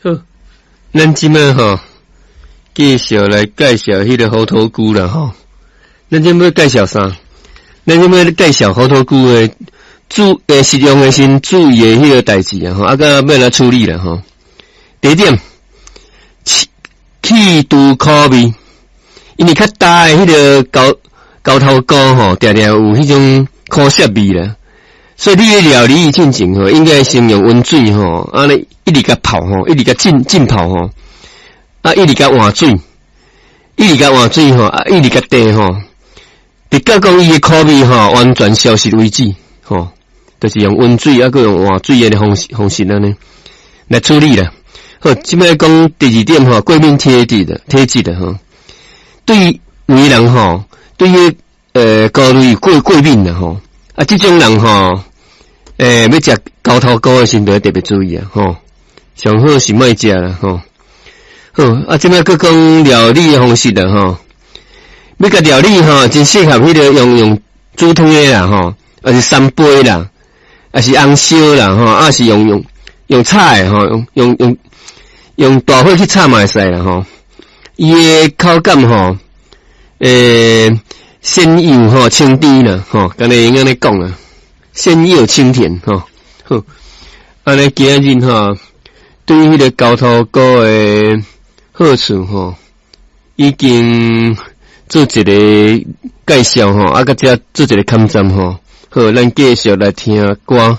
好，咱這擺吼，繼續來介紹彼個猴頭菇啦吼。咱這擺介紹啥？咱這擺介紹猴頭菇的食用的時注意的彼個代誌啊吼，啊，佮欲按怎處理啦吼。第一點，去除苦味，因為較焦的彼個猴頭菇吼，定定有彼種苦澀味啦。所以你咧料理進前吼，應該先用溫水吼，按呢一直共泡吼，一直共浸浸泡吼，啊，一直共換水，一直共換水吼，啊，一直共綴吼，直到講伊的苦味吼完全消失為止吼，就是用溫水啊，閣用換水的方式按呢來處理啦。好，這擺講第二點吼，過敏體質的吼，對有的人吼，對於菇類過敏啦吼，啊，這種人吼，欲食猴頭菇的時陣，特別注意啊，吼，上好是莫食啦，吼。好，啊，這擺閣講料理的方式啦，吼，欲共料理吼，真適合彼個用煮湯的啦，吼，抑是三杯啦，抑是紅燒啦，吼，抑是用炒的吼，用大火去炒嘛會使啦，吼。伊的口感吼，鮮幼吼，清甜啦，吼，敢若會用按呢講啊，鮮幼清甜吼，好，按呢今仔日吼，對彼個猴頭菇的好處吼，已經做一個介紹吼，啊，閣遮做一個勘站吼，好，咱繼續來聽歌。